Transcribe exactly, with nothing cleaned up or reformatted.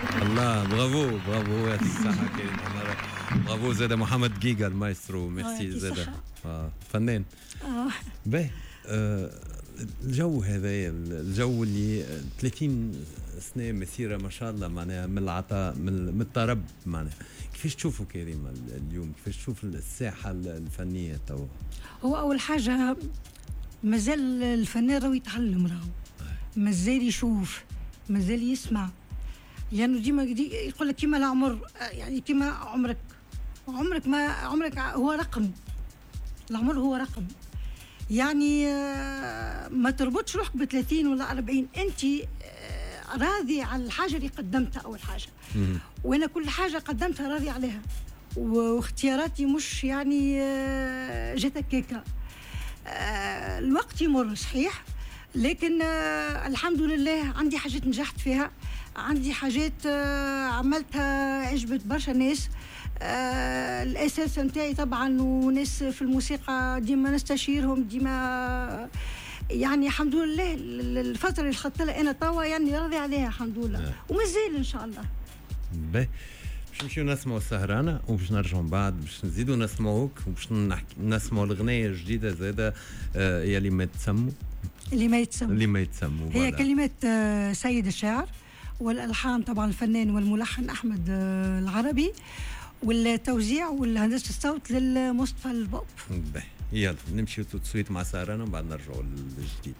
الله، bravo bravo، يعطيك الصحة كريم عمارة، برافو زاد محمد جيجا المايسترو، ميرسي زاد آه. فنان. آه. باهي، آه الجو هذا، الجو اللي ثلاثين سنة مسيره ما شاء الله، معناها من العطاء، من الطرب، معناها كيفاش تشوفوا كريم اليوم؟ كيفاش تشوف الساحة الفنية تو؟ هو اول حاجة مازال الفنان راهو يتعلم، راهو مازال يشوف، مازال يسمع، لانه يعني ديما يقول لك كيما العمر، يعني كيما عمرك عمرك ما عمرك هو رقم، العمر هو رقم، يعني ما تربطش روحك ب ثلاثين ولا أربعين، انت راضي على الحاجة اللي قدمتها اول حاجه. وانا كل حاجة قدمتها راضي عليها، واختياراتي مش يعني جات هكاكا. الوقت يمر صحيح، لكن الحمد لله عندي حاجات نجحت فيها، عندي حاجات عملتها عجبت برشا ناس. آه الاساس نتاعي طبعا وناس في الموسيقى ديما نستشيرهم ديما، يعني الحمد لله الفترة اللي خدت لها انا توا يعني راضي عليها الحمد لله، ومازال ان شاء الله. باهي، باش نمشيو نسمعوا السهرانه وباش نرجعوا من بعد باش نزيدوا نسمعوك وباش نحكي نسمعوا الاغنية الجديدة زاده، آه يا اللي ما تسموا. اللي ما يتسموا. اللي ما يتسموا. هي كلمات آه سيد الشاعر، والالحان طبعا الفنان والملحن احمد آه العربي، والتوزيع والهندسة الصوت للمصطفى البوب. يلا نمشيو tout de suite مع سهرانة ومن بعد نرجعوا للجديد.